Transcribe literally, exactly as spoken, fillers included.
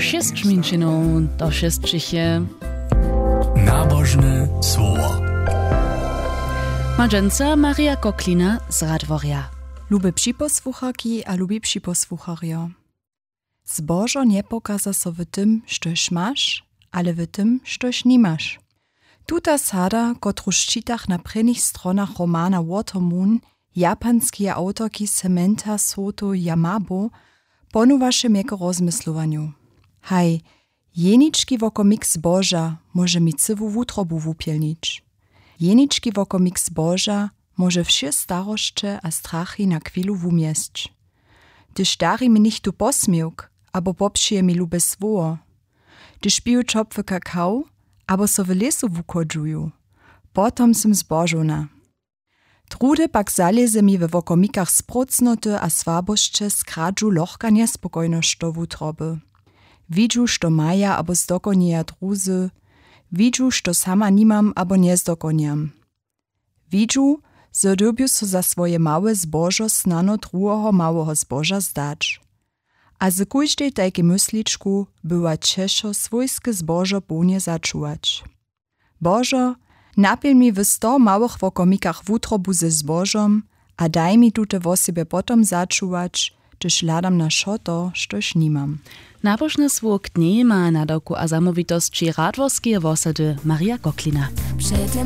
Šěsć minčinow do šěsćich je. Nabožne słowo. Ma dźensa Marja Koklina z Radworja. Lube připosłucharki a lubi připosłucharjo. Zbožo njepokaza so w tym, štož maš, ale w tym, štož nimaš. Tuta sada, kotruž čitach na prěnich stronach romana Watermoon japanskeje awtorki Samantha Soto Yamabo, ponowaše mje k rozmyslowanju. Haj, jenički wokomik zboža móže mi cyłu wutrobu wupjelnić. Jenički wokomik zboža móže wše starosće a strachy na chwilu wumjesć. Hdyž dari mi něchtó posměwk abo popřije mi lube słowo, hdyž piju ćopły kakao abo so w lěsu wuchodźuju, potom sym zbožowna. Druhdy pak zalěze mi we wokomikach sprócnoty a słabosće z kradźu lochka njespokojnosć do wutroby. Widźu, što maja abo zdokonjeja druzy. Widźu, što sama nimam abo njezdokonjam. Widźu, zo dyrbju so za swoje małe zbožo snano druheho małeho zboža zdać. A z kóždej tajkej mysličku bywa ćežo swójske zbožo połnje začuwać. Božo, napjelń mi w sto małych wokomikach wutrobu ze zbožom a daj mi tute wosebje potom začuwać, hdyž hladam na wšo to, štož nimam. Nabožne słowo k njej ma nadawku a zamołwitosći radworskeje wosady Marja Koklina. Před tym